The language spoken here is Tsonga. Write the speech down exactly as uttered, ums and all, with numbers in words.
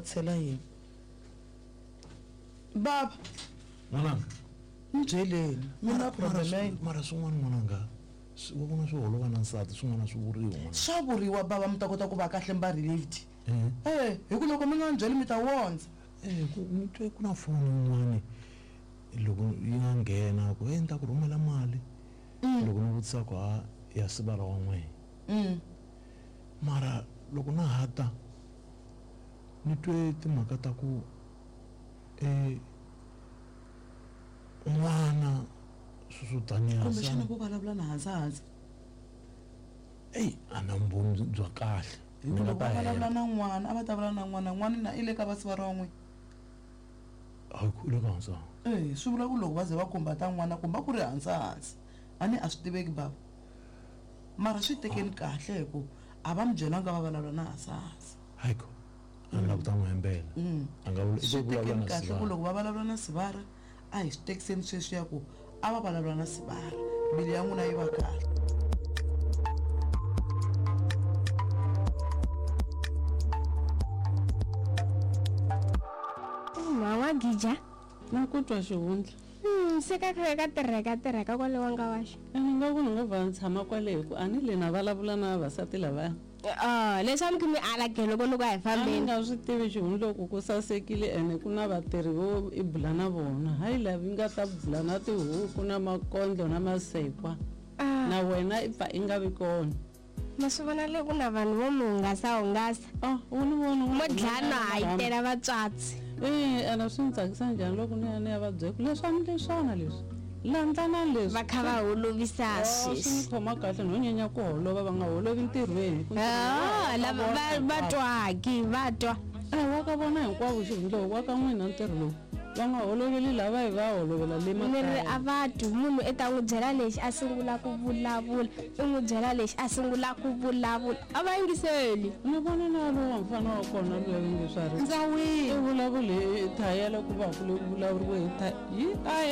vatisela yini baba n'wananga ni byeleni mi na problem ya yini mara swin'wana n'wananga wa vona swi holova na nsati swin'wana swi vuriwa n'wana swa vuriwa baba mi ta kota ku va kahle mi va relieved e hi ku loko mi nga ni byeli mi ta wondza e ku ni twe ku na foni yin'wani loko yi nga nghena ku e ni ta ku rhumela mali loko ni vutisa ku ha ya sivara wa n'wehe mara loko na ha ta ni twe timhaka ta ku e n'wana sweswo taniya kumbexana vo vulavula na hansi hansi eyi a na vumbhoni bya kahle hi ku loko va vulavula na n'wana a va ta vulavula na n'wana n'wana na i le ka vasivara wa n'wina hayi ku le ka hansi e swi vula ku loko va ze va khumba ta n'wana kumba ku ri hansi hansi a ni a swi tiveki baba mara swi tekeni kahle hi ku a va mi byelanga va vulavula na hansi hansi hayi ku a ni lava ku ta n'wi hembela a nga vula swi i vulavula tekeni na kahle ku sivara loko va vulavula na sivara a hi swi tekiseni sweswiya ku a va vulavula na sivara mbilu ya n'wina yi va kahle Mama gija na ku twa xihundla Hmm, se ka kha ka tirheka tirheka kwale wa nga wa xo ene nga ku ni ngo va ni tshama kwale hi ku a ni le na vulavula na vavasati lavaya ah leswi a mi kha mi ala ke loko loko a hi a ni fambeni nga swi tivi xihundla ku ku sasekile ene ku na vatirhi vo i bula na vona hayi lavi nga ta bula na tihuku na makondlo na masekwa Ah, na wena i pfa i nga vi kona ma swi vona le ku na vanhu vo mi hungasa hungasa ah u ni vona mo dlana ha yi tela vatswatsi e ene swi ni tsakisa njhani loko ni ya ni ya va byela ku leswi a ni leswana leswi landlana leswi va kha va holovisa Ah, swi ni sweswi khoma kahle no nyenya ku holova va nga holovi ntirhweni hi ku ntirho Ah, wa ka lava vona va va hinkwavo. twaki va twa Eh, wa ka vona hinkwavo xihundla wa ka n'wina ntirho lowu va nga holoveli lava hi va holovela le ni ri makaya a va twi munhu i ta n'wi byela lexi a sungula ku vulavula i n'wi byela lexi a sungula ku vulavula a va yingiseli ni vona na lowa mfana wa kona luya va nge swa ri ndza wini i vulavule hi thayela ku va ku le ku vulavuriwe hi tha yi a